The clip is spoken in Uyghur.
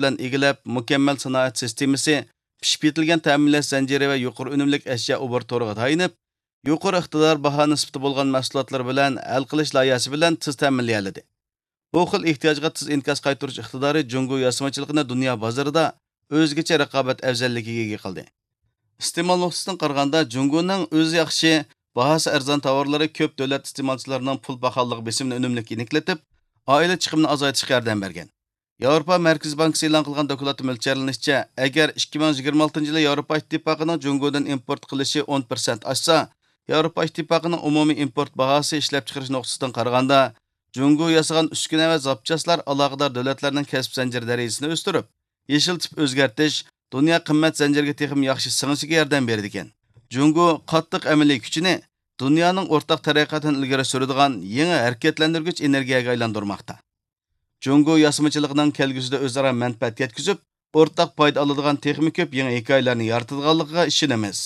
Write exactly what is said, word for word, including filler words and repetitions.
بىلەن ئىگىلەپ، مۇكەممەل سانائەت سىستېمىسى، پىشىپ يېتىلگەن تەمىنلەش زەنجىرى ۋە يۇقىرى ئۈنۈملۈك ئەشيا ئوبوروت تورىغا تايىنىپ، يۇقىرى ئىقتىدار، باھا نىسبىتى بولغان مەھسۇلاتلىرى بىلەن ھەل قىلىش لايىھەسى بىلەن تېز تەمىنلىيەلىدى. بۇ خىل ئېھتىياجغا تېز ئىنكاس قايتۇرۇش ئىقتىدارى جۇڭگو ياسىمىچىلىقىنى دۇنيا بازىرىدا ئۆزگىچە رىقابەت ئەۋزەللىكىگە ئىگە قىلدى. ئىستېمال نۇقتىسىدىن قارىغاندا، جۇڭگونىڭ ئۆزى ياخشى، باھاسى ئەرزان تاۋارلىرى كۆپ دۆلەت ئىستېمالچىلارنىڭ پۇل پاخاللىقى بېسىمىنى ئۈنۈملۈك يېنىكلىتىپ، ئائىلە چىقىمىنى ئازايتىشقا ياردەم بەرگەن. ياۋروپا مەركىزىي بانكىسى ئېلان قىلغان دوكلاتتا مۆلچەرلىنىشىچە، ئەگەر ئىككى مىڭ يىگىرمە ئالتىنچى يىلى ياۋروپا ئىتتىپاقىنىڭ جۇڭگودىن ئىمپورت قىلىشى ئون پىرسەنت ئاشسا، ياۋروپا ئىتتىپاقىنىڭ ئومۇمىي ئىمپورت باھاسى ئىشلەپچىقىرىش نۇقتىسىدىن قارىغاندا، جۇڭگو ياسىغان ئۈسكۈنە ۋە زاپچاسلار ئالاقىدار دۆلەتلەرنىڭ كەسىپ زەنجىرى دەرىجىسىنى ئۆستۈرۈپ، يېشىل تىپ ئۆزگەرتىش، دۇنيا قىممەت زەنجىرىگە تېخىمۇ ياخشى سىڭىشىگە ياردەم بېرىدىكەن. جۇڭگو قاتتىق ئەمەلىي كۈچىنى دۇنيانىڭ ئورتاق تەرەققىياتىنى ئىلگىرى سۈرىدىغان يېڭى ھەرىكەتلەندۈرگۈچ ئېنېرگىيەگە ئايلاندۇرماقتا. جۇڭگو ياسىمىچىلىقىنىڭ كەلگۈسىدە ئۆزئارا مەنپەئەت يەتكۈزۈپ، ئورتاق پايدا ئالىدىغان تېخىمۇ كۆپ يېڭى ھېكايىلەرنى يارىتىدىغانلىقىغا ئىشىنىمىز.